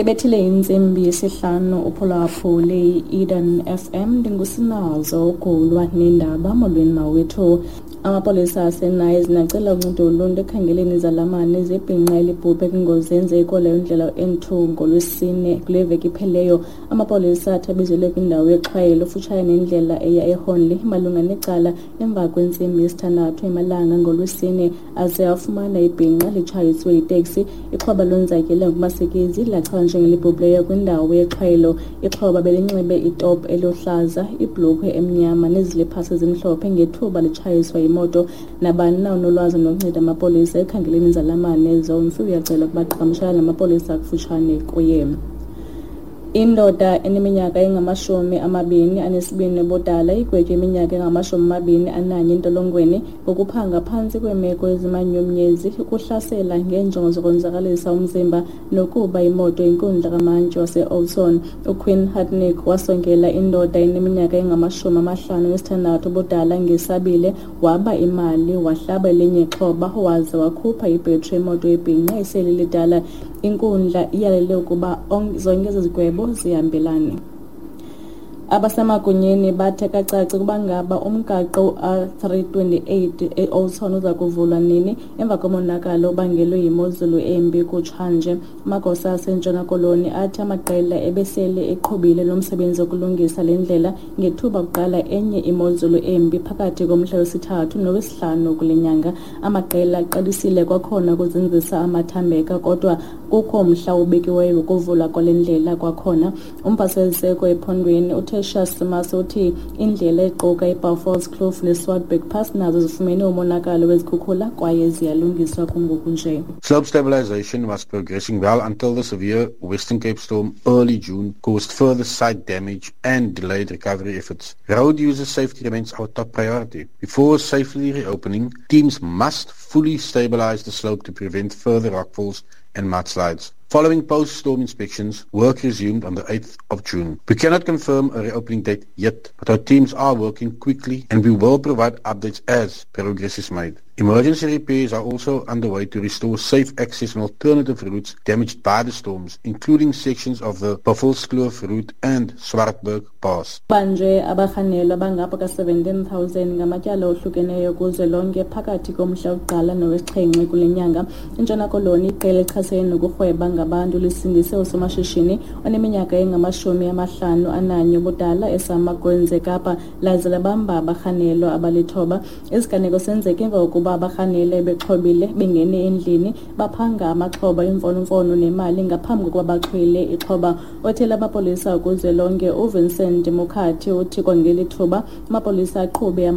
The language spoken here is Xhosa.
Ibethile intsimbi yesihlanu uphulaphule i-Eden FM. Ndingusinazo ugulwa neendaba. Molweni mawethu. Amapolisa aseNayizini acela uncedo uluntu ekukhangeleni izalamane zebhinqa elibhubhe kwingozi eyenzeke leyo ndlela N2 ngoLwesine kule veki iphelileyo. Amapolisa athi abizelwe kwindawo yexhwayelo futshane nendlela eya eHornley malunga necala emva kwentsimbi yesithandathu emalanga ngoLwesine aze afumana ibhinqa litshayiswe yiteksi. Ixhoba lonzakele ngokumasikizi lachazwa njengelibhubhileyo kwindawo yexhwayelo. Ixhoba belinxibe itop eluhlaza, ibhlukhwe emnyama neziliphasi ezimhlophe ngethuba litshayiswa yimoto. Nabani na onolwazi nokunceda amapolisa ekukhangeleni izalamane zomfi uyacelwa ukuba qhagamshelane namapolisa akufutshane kuye. Indoda eneminyaka engamashumi 22 ubudala igwetywe iminyaka engama-21 entolongweni ngokuphanga phantsi kweemeko ezimanyumnyezi, ukuhlasela ngeenjongo zokonzakalisa umzimba nokuba imoto. Inkundla kamantyi wase-Oudtshoorn uQueen Hartnick wasongela indoda eneminyaka engama-56 ubudala ngesabile, waba imali, wahlaba elinye ixhoba waze wakhupha ibhetri yemoto yebhinqa esele lidala. Inkundla iyalele ukuba zonke ezi zigwebo zihambelane. Abasemagunyeni bathe kacaci ukuba ngaba umgaqo u-R328 e-Oudtshoorn uza kuvulwa nini emva komonakalo obangelwe yimozulu embi kutshanje. Amagosa aseNtshona Koloni athi amaqela ebesele eqhubile lo msebenzi wokulungisa le ndlela ngethuba kuqala enye imozulu embi phakathi komhla wesithathu nowesihlanu kule nyanga. Amaqela aqalisile kwakhona ukuzinzisa amathambeka, kodwa kukho umhla obekiweyo wokuvulwa kwale ndlela kwakhona. Umpaseziseko ephondweni uTertuis Simmers uthi indlela equka iBuffelskloof neSwartberg Pass nazo zifumene umonakalo wezikhukhula kwaye ziyalungiswa kungoku nje. Slope stabilization was progressing well until the severe Western Cape storm early June caused further site damage and delayed recovery efforts. Road user safety remains our top priority. Before safely reopening, teams must fully stabilize the slope to prevent further rockfalls and mudslides. Following post-storm inspections, work resumed on the 8th of June. We cannot confirm a reopening date yet, but our teams are working quickly and we will provide updates as progress is made. Emergency repairs are also underway to restore safe access on alternative routes damaged by the storms, including sections of the Buffelskloof route and Swartberg Pass. Banjwe abarhanelwa bangapha ka-17,000 ngamatyala ohlukeneyo kuzwelonke phakathi komhla wokuqala nowesixhenxe kule nyanga. INtshona Koloni, iqela elichasene nokurhweba ngabantu lisindise usomashishini oneminyaka engama-51 ubudala eSamagwenze eKapa laze labamba abarhanelwa abalithoba. Isiganeko senzeke emva kokuba abarhanelwa bexhobile bengene endlini baphanga amaxhoba imfonomfono nemali ngaphambi kokuba baxhwile ixhoba. Othela amapolisa kuzwelonke uVincent Mukhathi uthi kwangeli thuba amapolisa aqhube.